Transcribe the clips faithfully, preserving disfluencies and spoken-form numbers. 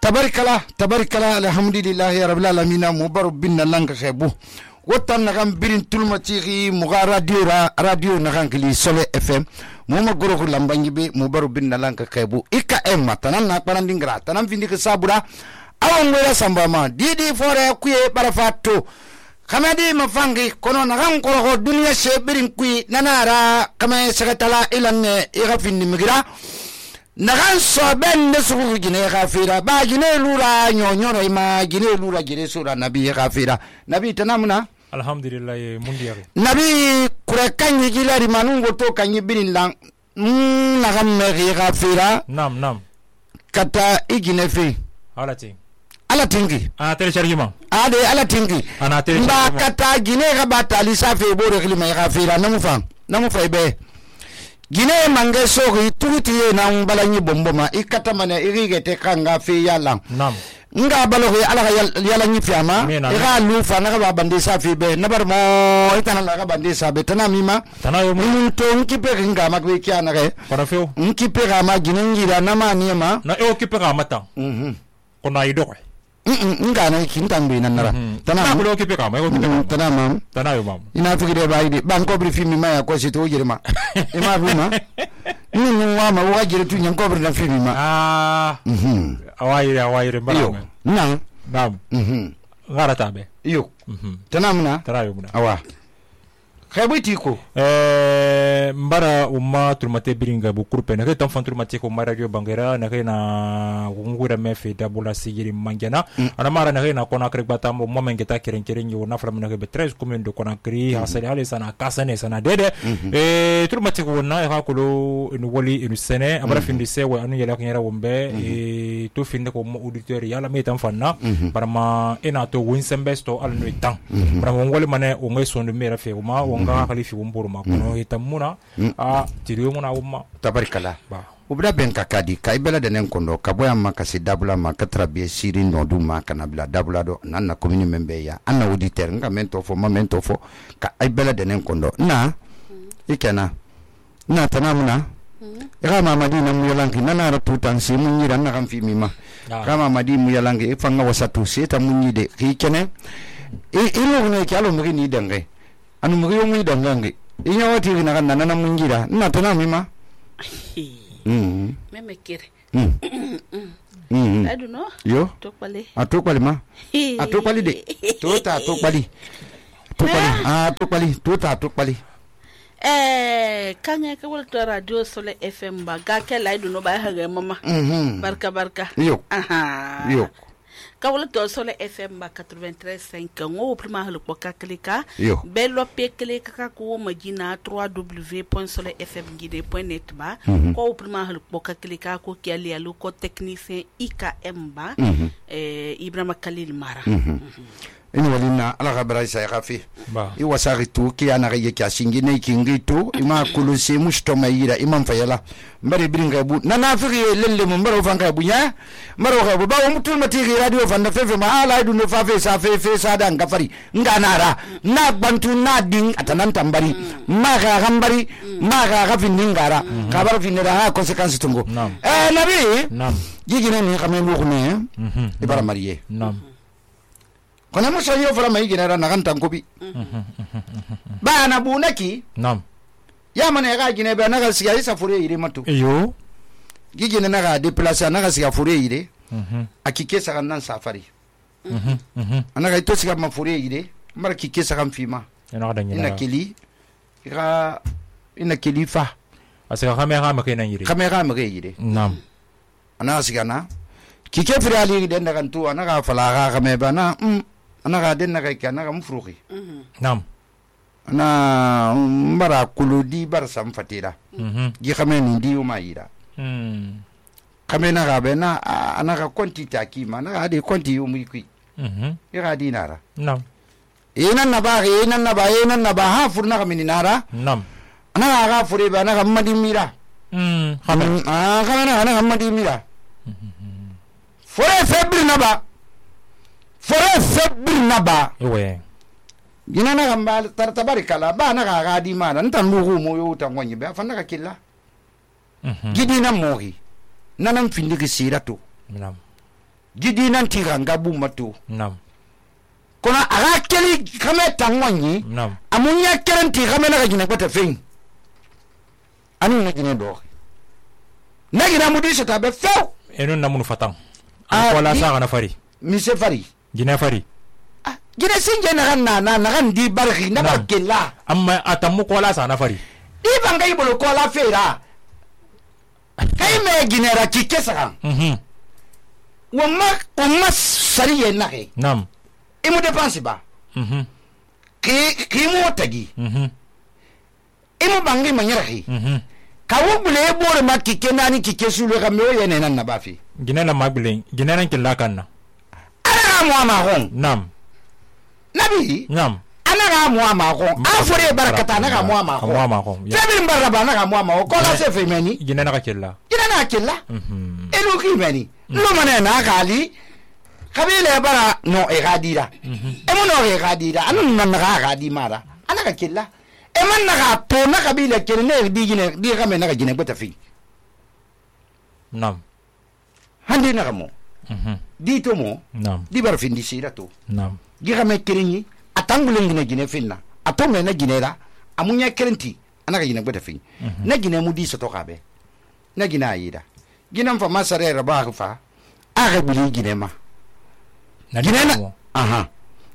tabarikala tabarikala alhamdulillahi rabbil alamin mubaru bin langa khebu wotan nagam birin tulmatiri muga radio ra radio nagan kili Sole F M muma goro lambangi be mubaru bin langa khebu ika emma tanan na parandingra tanan findi ke sabura awan wala sambama didi fore kuye barafato kamadi mafangi kono nagan koro dunia shebirin kui nanara kama sekatala ilanne ira findi migira nagan soben ne sugu gine gafira ba gine lura nyonyo ma gine lura gine sura nabi gafira nabi tanamuna alhamdulillah mundiya nabi kure kanyi gilari manungo to kanyi birin lang nagan me gafira nam nam kata igine fe alati ala tingi ana telechargement ade ala tingi ana telechargement ba kata gine ga batali safe bore klima gafira namu fam namu faibe gine mange sogi turuti na balanyi bomboma ikata mane irigete kanga fe yalla nam nga balogi ala yalla nyi fiama ira lufa na ga bande safe be nabar mo itana la ga bande sabe tanamima tanayo mun to nkipe nga magwe kiana re para feo nkipe ga ma gine ngira na maniema na e okipe ga mata mhm kona ido nga na kintambe nanara tana ko okipe ga ma ko tana mam tanayo mam ina fikire baide banko bri fimi ma ya ko sito jirma ima buma ni ni wa ma wa jire tu nyan ko bri na fimi ma ah mhm awai awai mbara nan nam mhm ngara tabe yo mhm tanamna tanayo muna awa khaybiti ko eh mbara umma turmate biringa bu kurpe na tan fan turmate ko maradio bangera na na ngura mefe dabula sigiri manjana ana mara na na kona krek batambo mo mengeta keren keren yo na flam na be treize communes de Conakry hasali ale sana kasane sana dede eh turmate ko na ha ko no woli inu sene abara findi sewe anu yela kanyara wombe e to finde ko mo auditeur yala me tan fanna barama ena to winsembesto al no tan barama ngole mane o ngai sondu mera fe ma nga khalifi wumburu makono itamuna a tiriyo muna umma tabarikala ba ubra ben kakadi kai bela denen kondo kaboya makasi dabula makatra be siri nondu makana bila dabula do nanna komini membe ya anna auditeur nga mento fo momento fo ka ai bela denen kondo na ikena na tanamuna ira mamadi na muyalangi nana ra tutan si munyira na kan fi mima kama mamadi muyalangi ifanga wasatu seta munyide kikene e ilo ne kyalo muri ni dangai anu muri yo muy dangange inya wati na kan nana mungira na tana mima mm meme kire mm mm I don't know yo tokpale atokpali ma atokpali de tota atokpali atokpali ah atokpali tota atokpali eh kanya ka wal to radio Sole F M ba ga ke lai duno ba ha ga mama mhm barka barka yo aha yo kawala to Sole F M ba quatre-vingt-treize virgule cinq ngo prima hal ko kaklika yo bello peklika ka ko magina w w w point sole f m guide point net ba ko prima hal ko kaklika ko kiali alu ko technicien I K M ba eh Ibrahima Khalil Mara ini walina ala gabra isa yafi ba i wasari tu ki ana ga yake asingi ne kingi tu ima kulusi musto mayira imam fayala mbari biringa bu nana firi lelle mo mbaro fanga bu nya mbaro ga bu ba mutul matiri radio fanda fefe ma ala du no fafe sa fefe sa dan gafari nganara na bantu na ding atanan tambari ma ga gambari ma ga ga finingara ka bar finira ha consequence tungo eh nabi nam gigine ni kamelu ko ne ibara mariye nam kona musa yo fara mai gina na kan tankobi ba na bunaki nam ya mana ga gina ba na ga siya isa fure ire mato yo gigina na ga déplacer na ga siya fure ire akike sa kan nan safari ana ga to siya ma fure ire mara kike sa kan fima ina ga ina kili ira ina kili fa asa kamera ma kena yire kamera ma ga ire nam ana siya na kike fure ali den da kan tu ana ga fala ga kame ba na ana ga den na ga kana ga mufruki nam ana mbara kuludi bar sam fatira gi xamé ni di uma yira hmm xamé na ga bena ana ga konti taki ma na ga de konti yu muy kui mhm ira dinara nam ina na ba ina na ba ina na ba ha furna ga minara nam ana ga fure ba na ga madi mira hmm xamé ah xamé na ga madi mira fore febri na ba fore febri na ba ewe gina na gamba tartabarikala ba na ga ga di mana ntan lugu mo yo tan wonyi be fa na ka killa mhm gidi na mohi nanan findi ki siratu nam gidi nan ti ranga bu mato nam kono aga keli kame tangwanyi nam amunya kerenti kame na gina kwata fein anu na gina do na gina mudi sata be few enu namunu fatan Ah, ko la di- sa na fari mise fari gina fari ah gina sinje na kan na na na kan di barki na Nam. barkella amma atamu ko la sa na fari di bangai bolo ko la fera kai me gina ra kike saka mhm wamma wamma sariye na ke nam imu dépense ba mhm ki ki mo tagi mhm imu bangi manyara ki mhm ka wo bule bore ma kike nani kike sulu ka me o yene nan na bafi gina la magbilen gina nan killa kanna ana mo ma hon nam nabi nam ana ga mo ma hon afore barakata na ga mo ma ko hon ma ko ya febi baraba na ga mo ma hon ko la se fe meni gina na ka killa ina na killa mhm elu ki meni lo mane na gali kabile bara no e gadira e mo no e gadira anu na na ga gadi mara ana ka killa e man na ga to na kabile kene ne di gine di ga me na ga gine bota fi nam handi na ga mo mhm di to mo nam di bar fin di sira to nam di ga me kirinyi atangule gine gine finna ato me na gine ra amunya kirenti ana ga gine bota fi na gine mu di so to ka be na gine ayida gine fa masare ra ba fa aga buli gine ma na gine na mo. aha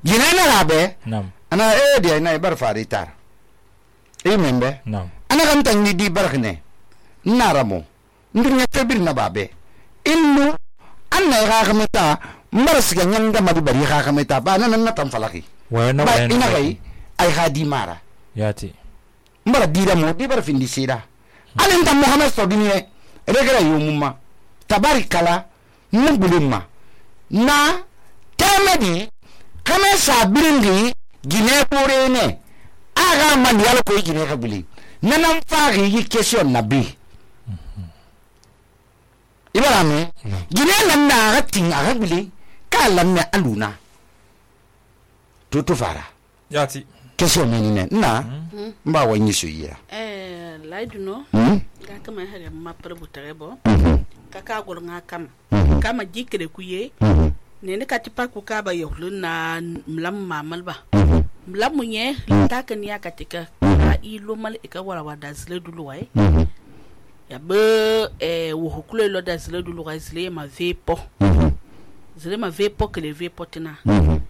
gine na ga be nam ana e dia na bar fari tar e membe nam ana kan tan ni di barkne naramo ndunya febir na babe innu anna ga kameta mbar siga nyanga madu bari ga kameta ba nan na tan falaki wa na ba wa ina kai ai ha di mara yati mbar dira mo di bar findi sira alin tan muhammad sodiniye regara yumuma tabarikala nubulumma na tamadi kame sabiringi gine bore ne aga man yalo ko gine ka buli nanan fari yi question na bi ibara me gine nan na ga tin aga buli ka lan ne aluna to to fara yati question ne ne na mba wanyi so yira eh laiduno hmm ga kama hare ma parbutare bo mhm kaka gol nga kam mhm kama jikre kuye mhm ne ne katipa ku ka ba yohlun na mlam mamal ba mhm mlam munye ta kan ya katika a ilo mal e ka wala wada zle dulu wai mhm ya be eh wo hukule lo da zle dulu wai zle ma vepo mhm zle ma vepo ke le vepo tina mhm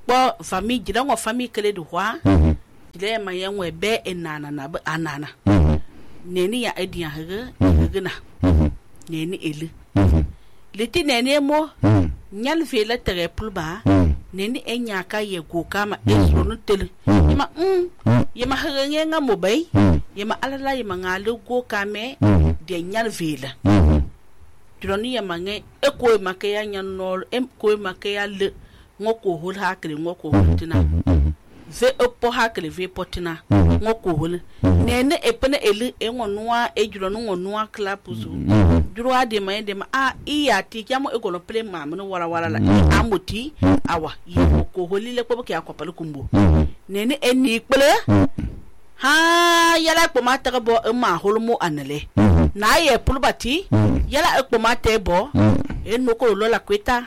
bo famille jira ngo famille kele du hwa mhm jile ma yanwe be enana na be anana mhm neni ya edian hege hege na mhm neni ele mhm leti neni mo mhm nyal vela tere pulba mhm neni enya ka ye go kama ezro no tele Mhm. yema mm Mhm. yema hege nga mo bay mhm yema alala yema ngale go kame mhm de nyal vela mhm droni yema nge e ko ma ke ya nyanol em ko ma ke ya le ngoko hol hakre ngoko hol tina mhm ve opo hakle ve potina Mhm. ngoko hol nene epene ele engonwa ejuro no ngonwa klapuzu mhm duro ade ma ende ma a iya ti kyamo egolo ple ma no wala wala la amuti awa yi ko holile ko ke akopale kumbo mhm nene eni kpele ha yala ko ma ta bo ma holmo anele mhm na ye pulbati yala ko ma te bo eno ko lo la kweta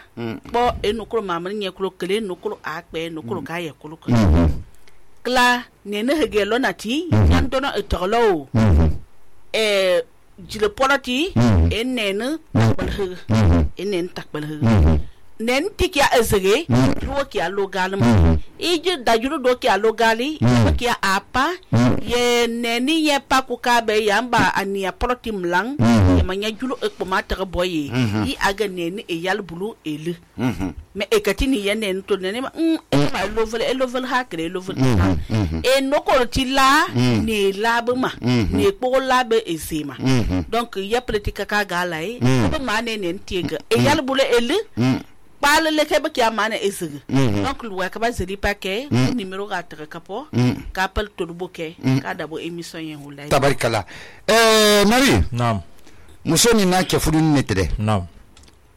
bo eno ko ma mani nye ko kele eno ko akpe eno ko ka ye ko ko kla nene hege lo nati yan dono etolo eh jile polati enene balhe enen takbalhe nen tikia ezege ruo kia logalma ije dajuru do kia logali kia apa ye neni ye pakuka be yamba ania poloti mlang ye manya julu ekpoma tere boye i aga neni e yal bulu ele me ekatini ye nen to neni ma ma lovel e lovel ha kre lovel e noko tila ne labma ne ko labe ezema donc ya politika ka galai ba ma ne nen tiega e yal bulu ele pale le kebe ki amana ezege donc lu ka ba zeli paquet numéro ga tere kapo ka pal to du boke ka dabo émission yen hulay tabarikala eh nari nam muso ni na ke fudun ne tere nam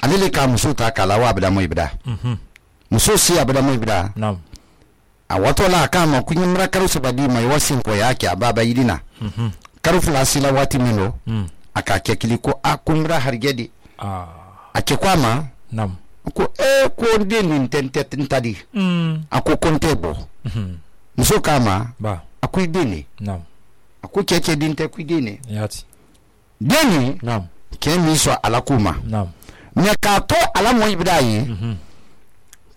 alele ka muso ta kala wa bada moy bida mhm muso si abada moy bida nam a wato la ka ma kunyi mra karu se badi mai wasin ko yake ababa yidina mhm karu flasi la wati mino mm aka ke kiliko akumra hargedi ah ake kwama nam ko e ko den nin tente tadi mm ako konte bo mhm muso kama ba akui deni nam ako keke dinte kui deni yati deni nam ke mi so ala kuma nam me ka to ala mo ibra yi mhm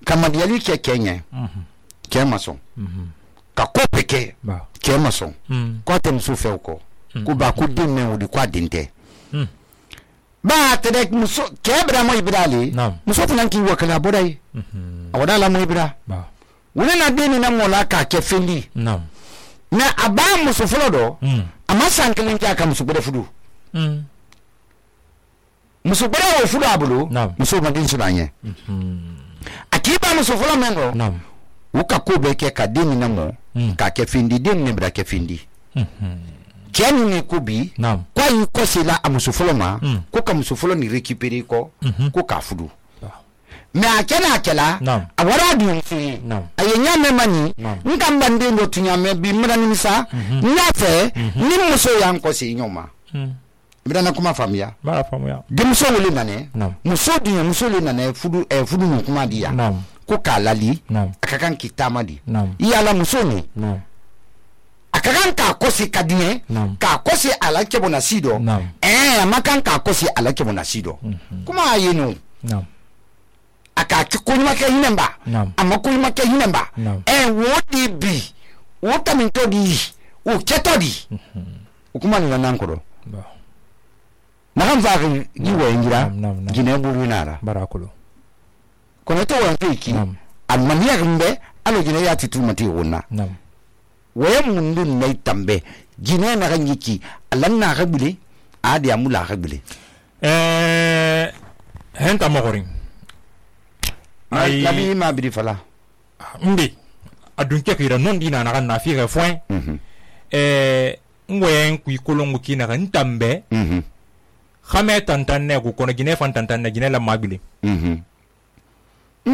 kama yali ke kenye mhm ke maso mhm ka ko peke ba ke maso mm ko tem su fe ko ku ba ku din me odi kwa dinte mm ba tede muso ke bra mo ibra li nam muso funan ki wakala bodai mhm awada la mo ibra ba wona na deni na mola ka ke fendi nam na aba muso folo do mm ama sankelin ka ka muso bere fudu mm muso bere wo fudu abulu nam muso madin sunanye mhm akiba muso folo mengo nam uka ko be ke ka deni na mo mm ka ke fendi den ne bra ke fendi mhm jeni ne ko bi nam kwa yi ko sila a muso folo ma Mm. ko ka muso folo ni récupérer ko mhm ko ka fudu ba me akena akela nam awara du fi nam ayenya me mani Naam. nka mbande ndo tunya me bi mra ni sa nyafe ni muso yan ko si nyoma mm mra na kuma famia ba famu ya de muso wole nane nam muso dunya muso le nane fudu e fudu no kuma dia nam ko ka lali nam akakan kitama di nam iyala muso ni nam akakan ka kosi kadie nam ka kosi ala kebo na sido nam eh amakan ka kosi ala kebo na sido kuma ayinu nam aka kikunyuma ke hinemba nam ama kunyuma ke hinemba Naam. eh wodi bi wota minto di o keto di ukuma ni nankoro ba na kan fa gi wo ingira Naam, naam, naam. gine buru nara barakulu kono to wa fiki Naam. almaniya gumbe alo gine ya titu mati wonna nam waye mundun nay tambe gine na kan yiki alan na gabule adi amula gabule eh henta mogorin ay ay labi ma bidi fala mbi adun ke kira non dina na kan na fi ga foin mhm eh ngwen ku ikolongu kina kan tambe mhm khame tantan ne ku kono gine fan tantan ne gine la mabili mhm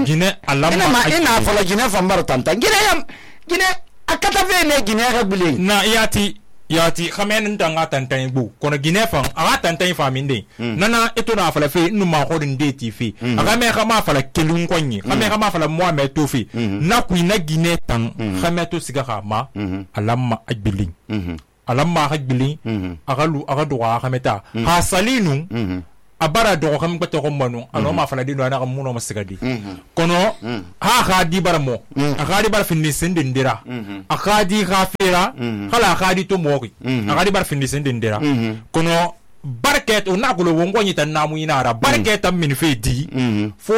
gine ina alama ma ina fala gine fambar tanta gine yam gine akata ve ne gine gabule na yati yati khame nan tanga tantan bu kono gine fan aga tantan fa minde nana eto na fala fe nu ma ko de ti fi aga me khama fala kelun konyi khame khama fala mo me to fi na ku na gine tan khame to siga khama alama ajbilin mhm alamma hajbili mhm agalu agadu wa khameta ha salinu mhm abara do kham ko to manu ano ma fala dinu ana muno masigadi mhm kono ha khadi baramo akadi bar finni sendindira akadi khafira khala khadi to moki akadi bar finni sendindira kono barket o nagulo wongo nyita namu inara barket am min fedi fo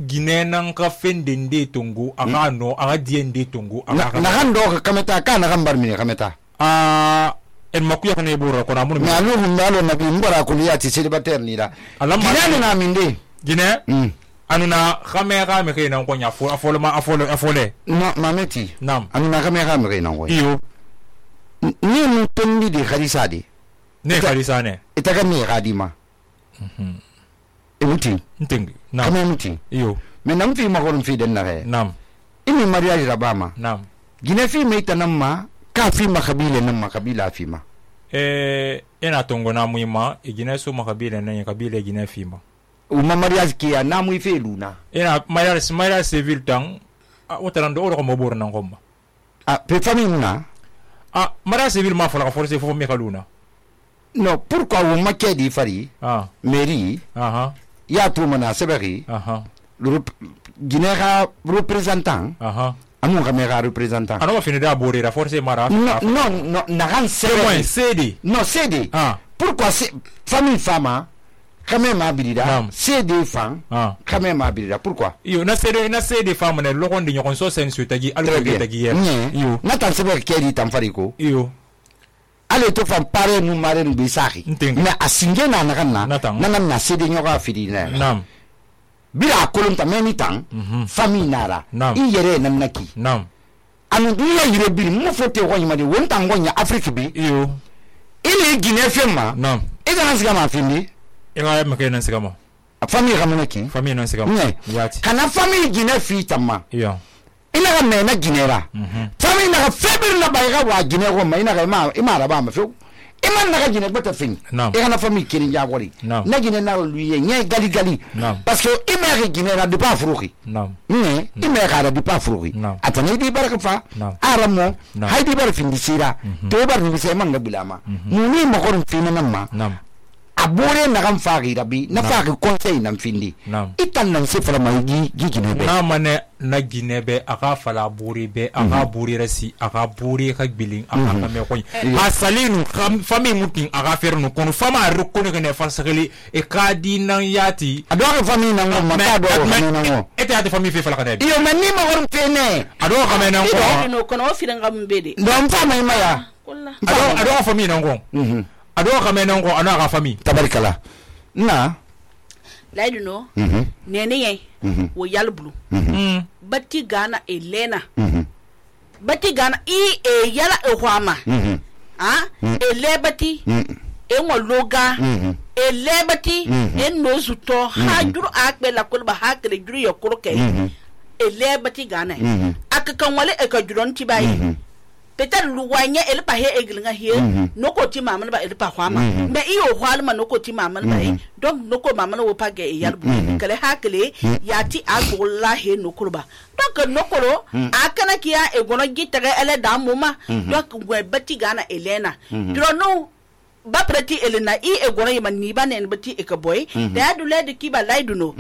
ginenan ka fendende tungu aga no aga diende tungu aga na kan do ka kameta ka na kan bar mi kameta ah en makuya kan e buru ko na mun me alu hum dalo nabi mbara kuliyati célibataire ni da Alam ma- gine na minde gine mm anuna khamera me kay nan ko nya fo afolo ma afolo afole no mameti nam anu na kamera me na ngoy iyo ni mu tondi di khalisa di ne khalisane itaga mi gadima mhm emuti ntingi nam kama muti iyo me nam fi ma ko fi den na re nam imi mariage rabama nam gine fi me tanamma ka fi ma kabila nan ma kabila fi ma eh ina tongo na muima igine so makabila nan kabila igine fima uma mariage ki ya na mu fi luna ina mayar mayar civil tang wotara ndo oro ko mobor nan komba ah pe famille na ah mayar civil ma fala forcer fo me kaluna no pourquoi wo makedi fari ah mairie aha ya to mana seberi aha le guinera représentant aha amun kamera représentant ano fini da borira forcer mara non non non na ran moins seberi cd non cd ah pourquoi c'est famille fama quand même abirida Naam. cd fan ah quand même abirida pourquoi iyo na cd na cd femme ne lokon de nyokon so sen su tagi alko très de bien tagi yer Nye. iyo na tan seberi kedi tan fariko iyo ale to fan pare nu mare nu bisaki Ntengi. mais asinge na na kana Natang. na na cd nyoka fidi na nam bira kolon ta meni tan Mhm. famille nara Naam. i yere nan naki nam anu duya yire biri mo fote ko nyima de won tan gonya afrique bi iyo ile gine fema nam e ga siga ma findi inga me kay nan sigama famille kamana ki famille nan sigama ne yati kana famille gine fi tamma iyo ina ga me na ginera mhm famille na ga feber na ba ga wa gine ko ma ina ga ma ima ra ba ma fe iman naga jine bata fin e kana fami kiri jagori na jine na luye nye gali gali parce que imere jine na de pas fruki ne imere kada de pas fruki atani di baraka fa aramo haydi bar fin di sira to bar ni se man gabilama muni mo ko fin na ma abore na kan faagi rabi na faagi conseil nan findi itan nan se fala mai gi gi jine be na mane na jine be aka fala buri be aka buri rasi aka buri ka bilin aka ka me koy asalinu fami mutin aka fer no kono fama rukuni ne fansakeli e kadi nan yati ado ka fami nan go mata do nan go ete ate fami fe fala kana iyo manni ma won fene ado ka me nan ko no kono fi ngam bede ndon fama maya ado ado fami nan go ado kame nan ko ana ka fami tabarikala na laidu no nene ye wo yalbulu batti gana elena batti gana i e yala e hwama ah e lebati e ngologa e lebati e nozuto ha juru akbe la kulba hakre juru yokoro ke e lebati gana akakan wale e ka juron tibai peut-être luwanya el pa he eglinga he noko ti mama ba el pa hwama me iyo hwalma noko ti mama ba donc noko mama no pa ge yalbu kale hakle yati agola he noko ba donc noko akana kiya e gono gitere ele da muma donc we bati gana elena dro no ba preti elena i e gono yima ni ba ne bati e ka boy da dule de ki ba laidu no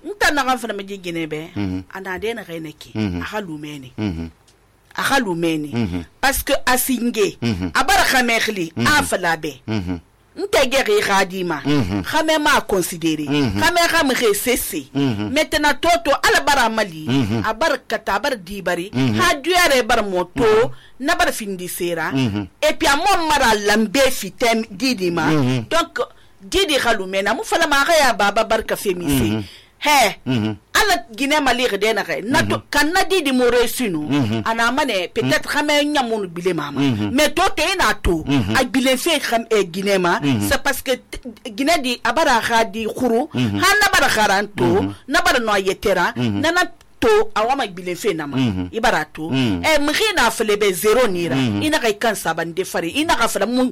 nta na kan fa me gine be ana de na reneki ahalumeni ahalumeni mm -hmm. parce que asinge mm -hmm. abara khamekli mm -hmm. afalabe mm -hmm. ntegeri radima mm -hmm. khame ma considérer mm -hmm. khame khame resese mm -hmm. maintenant toto ala bara mali mm -hmm. abar kata bar dibari mm -hmm. ha duare bar moto mm -hmm. na bar findi sera mm -hmm. et puis amon mara lambe fitem didima mm -hmm. donc didi khalumena mu fala ma ya baba barka femise mm -hmm. he mm -hmm. ala gine mali de na kay na to kan na di di mo resinu ana mane peut-être xamé ñamunu bile mama mais to te na to ak bile fe xam e gine ma c'est parce que gine di abara khadi khuru han na bara kharanto na bara no yetera na na to awama bile fe nama ibara to e mkhina flebe zero nira ina kay kan saban de fari ina ka fala mun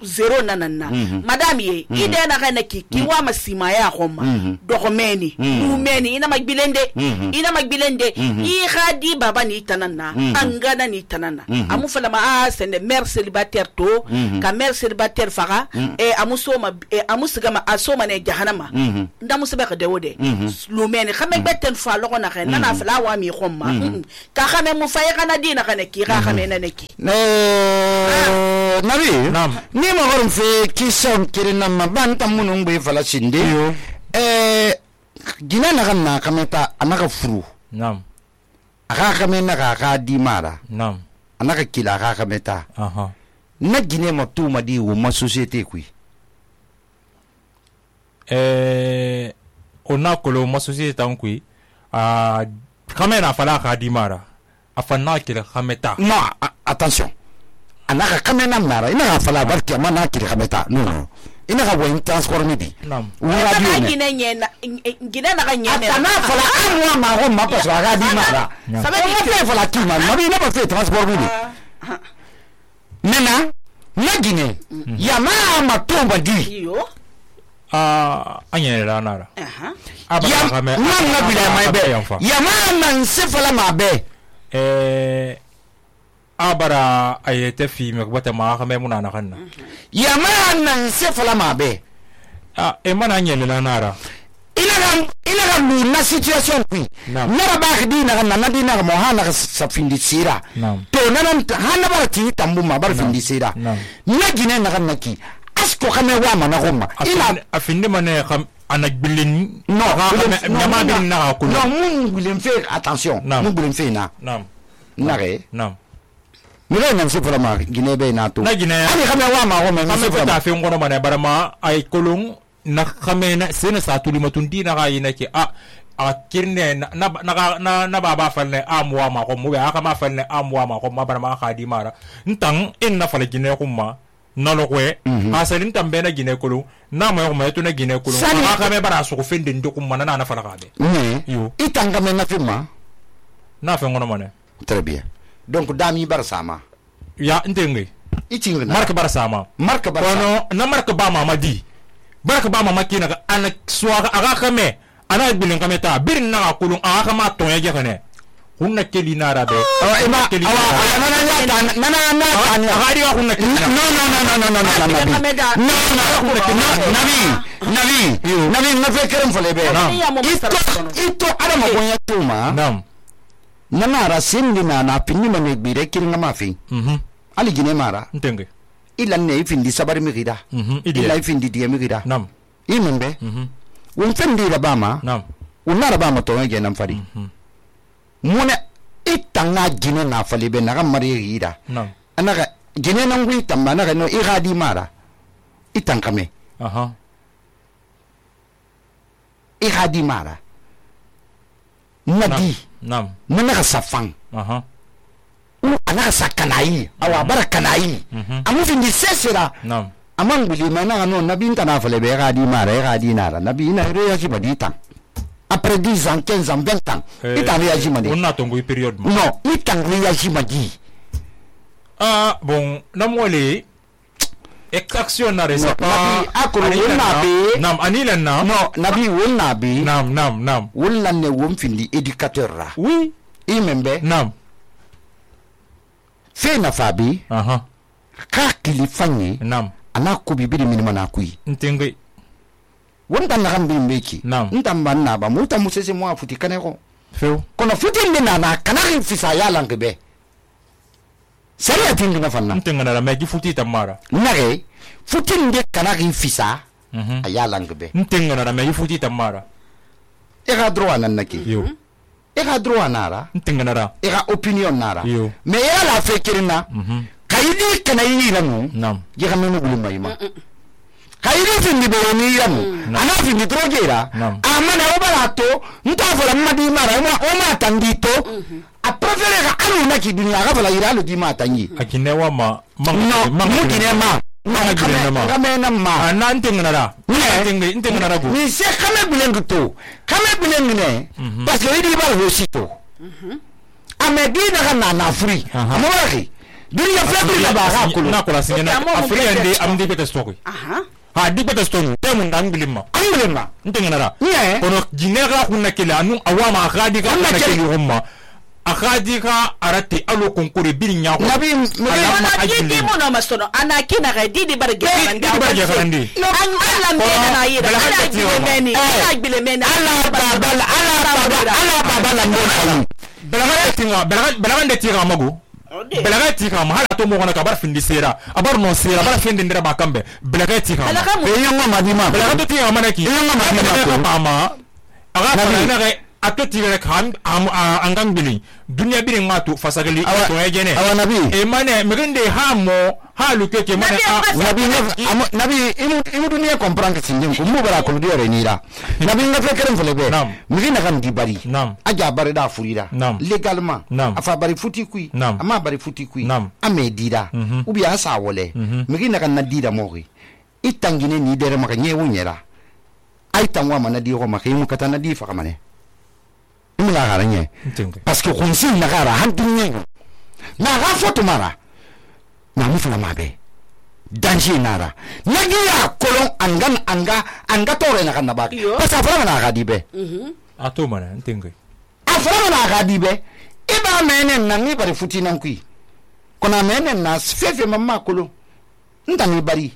zero nanana madame ye ide na kana ki ki wa masima ya khoma dokomeni meni ina magbilende ina magbilende i khadi baba ni tanana angana ni tanana amu fala ma sende mère célibataire to ka mère célibataire fara e amu soma e amu sigama asoma ne jahannama ndamu sebeka de wode lumeni khame beten fa lo na khana na fala wa mi khomma ka khame mu faye kana dina kana ki ka khame na neki eh nabi ni mo horum fe ki son kirina ma banta munung be fala sinde eh gina na kan na kameta anaka furu nam aka kamena ka ka di mara nam anaka kila ka kameta aha na gine mo tu ma di wo ma société kui eh ona kolo ma société tan kui a kamena fala ka di mara afana kila kameta no attention anaka kamena mara ina fala barki amana kila kameta no no ina ka boy transformer di nam wala di gine nyena gine na ka nyena atana fala amwa ma ho ma paswa ga di mara sabe ni fe fala ki ma ma bi na ba fe transformer di nena na gine ya ma ma tomba di yo ah anya la nara aha ya ma na bi la mai be ya ma na se fala ma be eh abara ayete fi me bata ma khame muna na kanna ya ma nan se fala ma be ah e mana nyele la nara ina ram ina ram na situation kui na ba khidi na na di na mo hana sa findi sira to na nan hana ba ti tambu ma bar findi sira na gine na kan naki asko khame wa ma na gomma ina afinde mane kham anak bilin no nyama bilin na ko no mun bilin fe attention mun bilin fe na nam na re nam mire nan se fala ma gine be na to na gine ani khame wa ma gomma khame ko ta fe ngono mane barama ay kolong na khame na sene sa tuli matundi na ga ina ki a a kirne na na na na baba falne amwa ma ko mo aka ma falne amwa ma ko ma barama khadi mara ntang en na fala gine ko ma na lo kwe asalin tambe na gine kolong na ma ko ma to na gine kolong aka me bara so ko fende ndo ko mana na na fala ga be yo itanga me na firma na fe ngono mane très bien donc dami bar sama ya ndenge itinga marka bar sama marka bar kono na marka ba mama di barka ba mama kina ga ana suwa aga kame ana bilin kame ta birin na kulun aga kama to ya jekane hunna keli na rabe awa ima awa nana nyata nana nana aga diga hunna keli no no no no no no no no nabi nabi nabi na fe kerem fale be ito ito ada ma gonya tuma nam nana ra sindi na na pinni mane bire kiringa mafi mhm ali gine mara ntenge ila ne ifindi sabari mi gida mhm ila ifindi die mi gida nam imembe mhm won fendi la bama nam unara bama to nge nam fari mune itanga gine na fali be na mari gida nam anaka gine nan gwi tamba na no iradi mara itankame aha iradi mara nadi nam nana ka safan aha u ana sakanai awa barakanai amu findi sesera nam amang bili mana no nabi ntana fale be iradi mara iradi nara nabi ina reaji badita après dix ans quinze ans vingt ans itan reaji madi on a tongo period ma non itan reaji madi ah bon namole extraction na resa nabi akoro wonna be nam anila na no nabi wonna be nam nam nam wonna ne won findi éducateur ra oui imembe nam fe na fabi aha ka kili fanye nam ana ko bibiri minima na kui ntenge wonta na gambi mbeki nam ntamba na ba muta musese mo afuti kaneko feu kono futi ndina na kana fisa ya langbe sariya tingi na fanna ntenga na megi futi tamara nare futi nde kana fisa mhm ya langbe ntenga na megi futi tamara e ga droit nan naki yo e ga droit nara ntenga na e ga opinion nara yo me ya la fekirina mhm kayidi kana yi namu nam je ga menu bulu mayima kayidi findi be ni yamu ana findi drogera amana obalato nta fola madi mara o ma tandito a préféré ga anu na ki dunia ga fola ira lo di ma tanyi akinewa ma no mu kine ma ma kine ma kame na ma ana ntenga na ntenga ntenga na go ni se kame bulengu to kame bulengu ne parce que idi ba ho sito amedi na kana na free amoraki dunia flebi na ba ga kulu na kula singena afri ande amdi beta story aha ha di beta story temu ndangbilima angulema ntenga na yeah kono jinera kunna kila anu awama khadi ka kunna kila humma akhadi ka arate alo konkore birinya ko nabi ana didi mo no masono ana kina ga didi barge didi barge farandi an ala mena na yira ala bile meni ala bile meni ala babala ala babala ala babala mbona belaga tinga belaga belaga de tira mago belaga tika ma hala to mo gona ka bar findi sera abar no sera bar findi ndira bakambe belaga tika e yonga madima belaga to tika manaki e yonga madima ko mama aga na ga ato tika kan am angang bili dunia bili ngatu fasagali to ejene awa nabi e mane megende ha mo ha lu keke mane nabi nabi imu imu dunia comprendre que sindem ko mu bara ko diore nira nabi nga fekere mfulebe migina kan di bari aja bari da furira légalement afa bari futi kui ama bari futi kui ame dira ubi asa wole migina kan na dira mogi itangine ni dere maka nyewu nyera ay tangwa mana di ko maka imu katana di fa kamane imu la garanye parce que konsi na gara hantinye na ga foto mara na mu fana mabe danger nara nagiya kolon angan anga anga tore na kan nabaki parce afra na gadibe mhm ato mana ntinge afra na gadibe iba menen na ngi bari futi nan kui kona menen na fefe mamma kolo ntani bari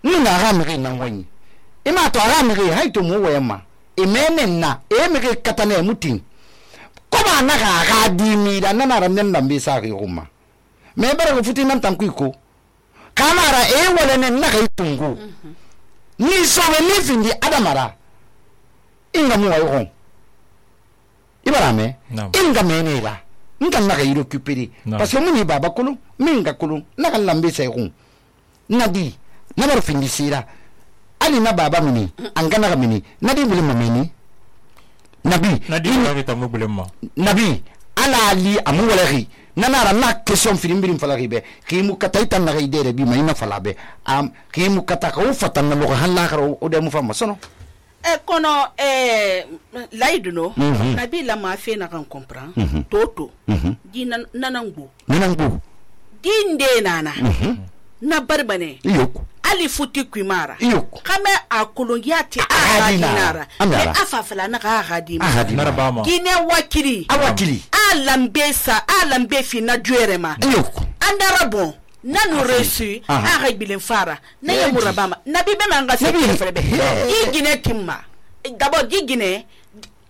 nuna ga mege nan wani ima to ga mege haito mu wayama e menen na e mege katane mutin ko ba na ga gadimi da nana ran nan dambe sa ga umma me bara futi nan tan kui ko kamara e wala ne na kai tungu ni so me ni findi adamara inga mu wayo ibara me inga me ne ba inga na kai récupérer parce que muni baba kulu minga kulu na kan lambe sai ko nadi na bar findi sira ali na baba mini anga na mini nadi bule mamini nabi nadi na ta mu bule ma nabi ala ali amu wala ri nanara na question filimbirim fala ribe kimu kata itan na idere bi mayna fala be am kimu kata ka ufatan na lo halla kharo o de mu fama sono e kono e laiduno nabi la ma fe na kan comprend toto di nanangu nanangu di nde nana na barbane Iyoko. ali futi kwimara Iyoko. kame a kolongiya te a dinara e afafala na ga ga di Narabama. gine wakili Awakili. a lambe sa a lambe fi na duere ma Iyoko. andara bon nanu reçu a ga bilen fara na ya murabama nabi be man ga se frebe i gine timma d'abord di gine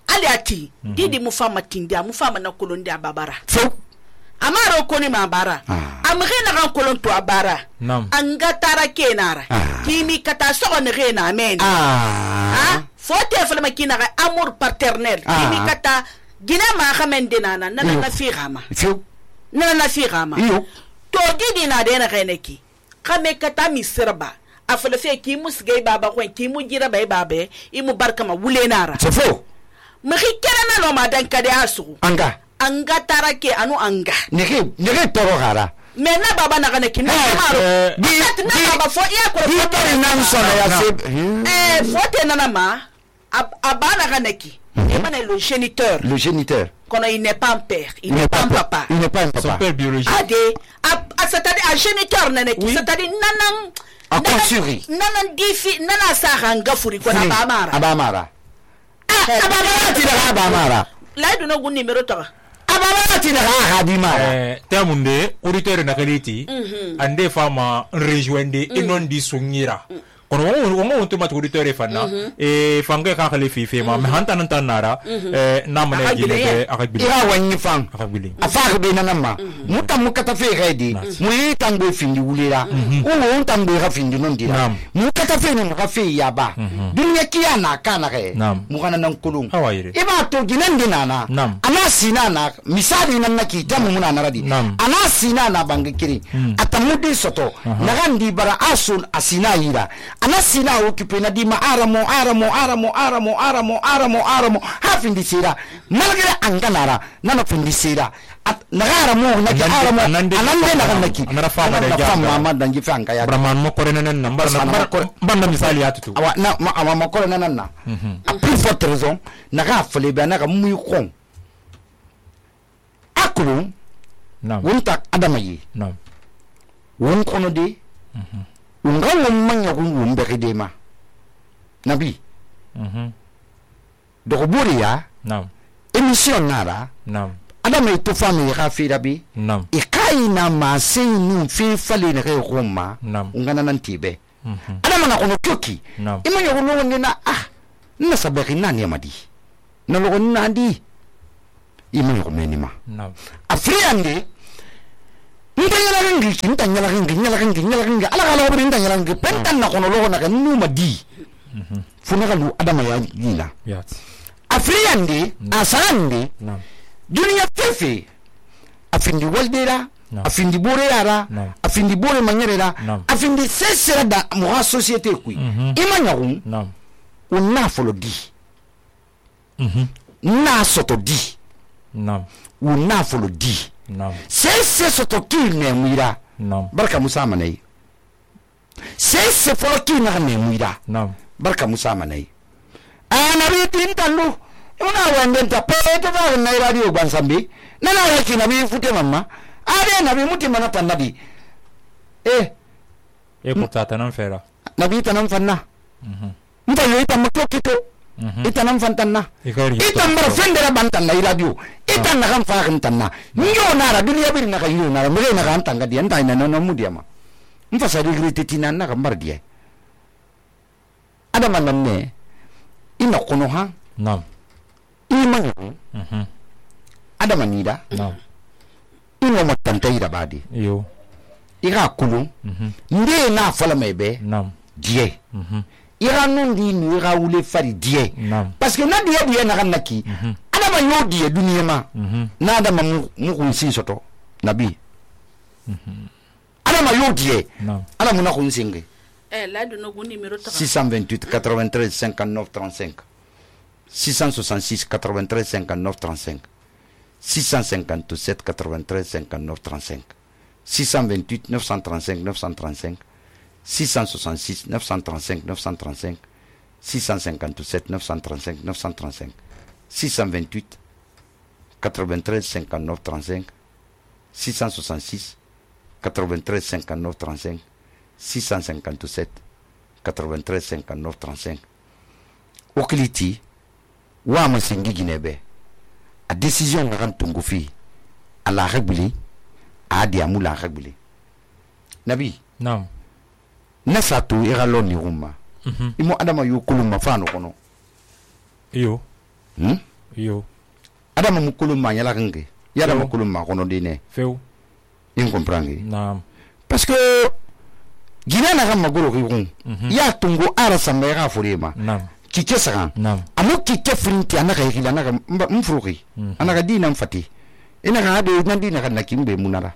ali ati didi mu fama tindia mu fama na kolondi ababara So. amaro koni ma bara amge na kan kolon to abara Nam. anga tara kenara kimi kata so on rena men Ah. ha fote fala makina ga amour paternel kimi kata gina ma khamen dinana nana na fi gama So. nana na fi gama Iyo. to didi na de na reneki kame kata mi serba afala fe ki musgay baba ko ki mu jira bay babe imu barkama wulenara C'est faux. mexi kerana no ma dan kade asu Anga. anga tara ke anu anga Nege nege toro gara. mais na baba na kana kinna maro di na baba fo ya ko Di tari nan sona ya se. eh fote nana ma abana kana ki e mana le géniteur Le géniteur. kono il n'est pas un père il n'est pas un papa Il n'est pas un Son papa. père biologique. ade a c'est-à-dire un géniteur nana ki c'est-à-dire nanan A consuri. nanan difi nana sa hanga furi ko na ba mara Abamara. Abamara ti da abamara. la do no gun numéro to Abamara ti da hadimara. Eh, temunde auditeur na kaliti ande fama rejoindre e non di sungira kono wo wo to mat auditeur e fanna e fanga ka khali fi fi ma me hanta nan tanara eh namane gile be akabili Ira wanyi fang. akabili Afaka be nanama. Muta mukata fe gaidi. Mu yi tangbe findi wulira. Uwo tangbe ga findi non dira. Mu kata fe ne ga fe yaba. Dunya kiya na kana ga. Mu kana nan kulun. Hawayire. Iba to ginan dinana. Ana sina na misali nan naki tamu muna naradi. Ana sina na bangi kiri. Atamudi soto. Nagandi bara asun asina yira. Ana sina occupé na di ma aramo aramo aramo aramo aramo aramo aramo ha findi sira. Malgré anganara nana findi sira. Nagara mo naki aramo anande nagan naki. Anara fama da ja. Fama dangi fanga ya. Brahman mo kore nan nambar nambar banda misali atutu. Awa na ma awa mo kore nan na. A plus forte raison naga fele be naga muy kon. Akulu Nam. wonta adamayi. Nam. Won kono de. Unga won manya kun won be de ma. Nabi. Mhm. Dogo buri ya Nam. émission nara. Nam. Adama ito fami ya fira bi. Nam. Ikai na ma sinu fi fali na kai Roma. Nam. Ungana nan tibe. Mhm. Adama na kono kyoki. Nam. Ima yo kono wonde na ah. Na sabaki nani amadi. Na logo nandi. Ima yo kono ni ma. Nam. Afriande. Ntanyala ngi, ntanyala ngi, ntanyala ngi, ntanyala ngi. Ala kala obri ntanyala ngi. Pentan na kono logo na kan numa di. Mhm. Funa kalu adama ya yina. Yat. Afriande, asande. Nam. Dunia fefe afindi waldera no. afindi bore yara no. afindi bore manyerera no. afindi sesera da mo société kui mm -hmm. imanyaru no. unna folo di mhm mm na soto di no. unna folo di no. sese soto ki ne muira no. barka musa manai sese folo ki na ne muira no. barka musa manai ana bitin tandu una wendenta pete ba na radio bansambi nana yaki na bi fute mama are na bi muti mana tan nabi eh e portata non fera nabi tanam fanna mhm mta yo ita makto kito itanam fantanna itan bar fendera bantan na radio itan na kan fa kan tanna nyo nara dunia bir na kayo nara mure na kan tanga dia ntai na no mudia ma mfa sa digri titina na kan bar dia ada manan ne ina kono ha nam iman mhm ada manida nam ino matanta ida badi yo ira kulu mhm nde na fala mebe nam die mhm ira nundi ni ira wule fari die nam parce que na die die na kan naki ada ma yo die dunia ma mhm na ada ma mu kun sin soto nabi mhm ada ma yo die nam ada mu na kun singe eh la de no gun numéro six cent vingt-huit quatre-vingt-treize cinquante-neuf trente-cinq six cent soixante-six quatre-vingt-treize cinquante-neuf trente-cinq six cent cinquante-sept quatre-vingt-treize cinquante-neuf trente-cinq six cent vingt-huit neuf cent trente-cinq neuf cent trente-cinq six cent soixante-six neuf cent trente-cinq neuf cent trente-cinq six cent cinquante-sept neuf cent trente-cinq neuf cent trente-cinq six cent vingt-huit quatre-vingt-treize cinquante-neuf trente-cinq six cent soixante-six quatre-vingt-treize cinquante-neuf trente-cinq six cent cinquante-sept quatre-vingt-treize cinquante-neuf trente-cinq o kiliti wa ma singi ginebe a décision na kan tungu fi ala xebili a di amula xebili nabi naam na satu ira lo ni rumma mhm imo adama yu kuluma fa no kono iyo hmm iyo adama mu kuluma yala kange yala mu kuluma kono dine feu in comprendre naam parce que gina na kan magoro ki kun ya tungu ara sambe ga furema naam kike sagan naam amu kike frinti anaka yila naka mfruki anaka dina mfati ina ga de nan dina kan nakimbe munara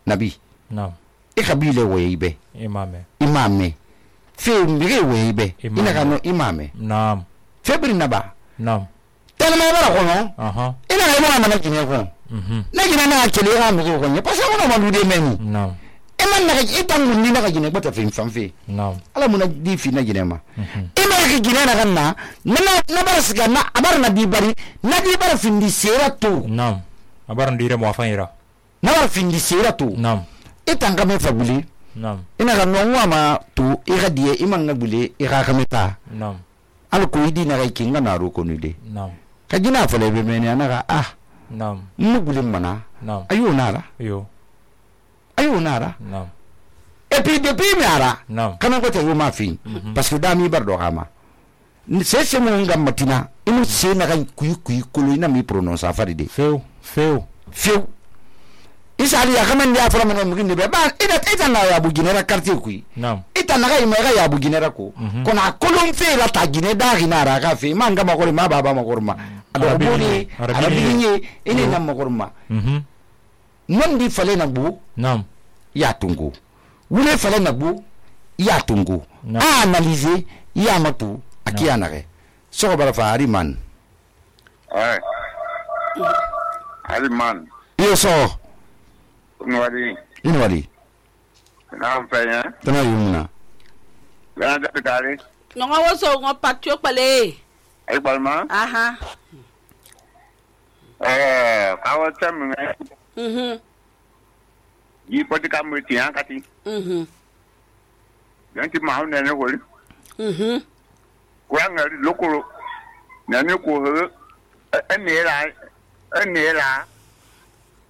nabi naam ikabile weibe imame imame fe mbire weibe Imame. ina ga no imame naam febri naba naam telma bara ko no aha ina ga ma na kine ko mhm na gina na kele ga mi ko ne parce que mo ma lude meni naam e man na ga itangu ni na ga gine bata fe famfe naam ala muna di fi na gine ma mhm ina ga gine na ganna na na bara siga na abar na di bari na di bara findi sera to naam abaran dire mo afanyira na bara findi sera to naam itanga me fabuli naam ina ga no wa ma to e ga die iman na bule e ga kameta naam al ko idi na ga kinga na ro ko ni de naam ka gina fale be me ne na ga ah naam mu bule mana naam ayo nara iyo ayo nara naam et puis depuis mi ara naam kana ko te yo ma fin parce que da mi bar do kama ni se se mo ngam matina inu se na ga kuyi kuyi kolo ina mi prononce afari de feu feu fiu isali ya kama ndia fara mena muginde be ba ida ita na ya buginera quartier kuyi naam ita na ga ima ga ya buginera ko kona kolon fe la ta gine da gina ra ga fe manga ma ko ma baba ma ko ma ado boni arabinye ine na ma ko ma mhm non di fale na bu naam ya tungu wule fale na bu ya tungu Naam. a analyser ya matu akia na re so bara fa ariman Ay. Aliman. yo so Nwadi. ino wali Na mfanya. tana yumna Gana da kare. Nonga woso ngo patio pale. Ay balma. Aha. Eh, kawo tamu. Mhm. Yi poti kamu tiyan kati. Mhm. Yanti mahu nene holi. Mhm. Kwa ngari lokoro. Nene ko he. Enera. Enera.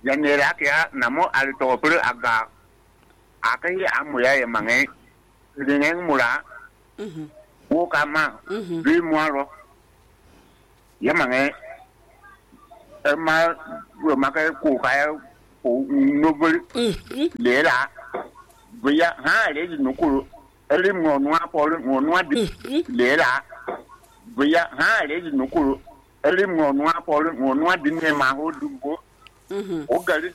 Yanera kya namo ali to pere aga. Akai amuya ya mange. Dengan mula. Mhm. Wo kama. Mhm. Bi muaro. Ya mange. Ema wo maka ko kaya ko nobel Mhm. lera. Buya ha le nukuru. Ele mo nwa polo mo nwa di lera. Buya ha le nukuru. Ele mo nwa polo mo nwa di ne ma ho dumbo. Mhm. O gari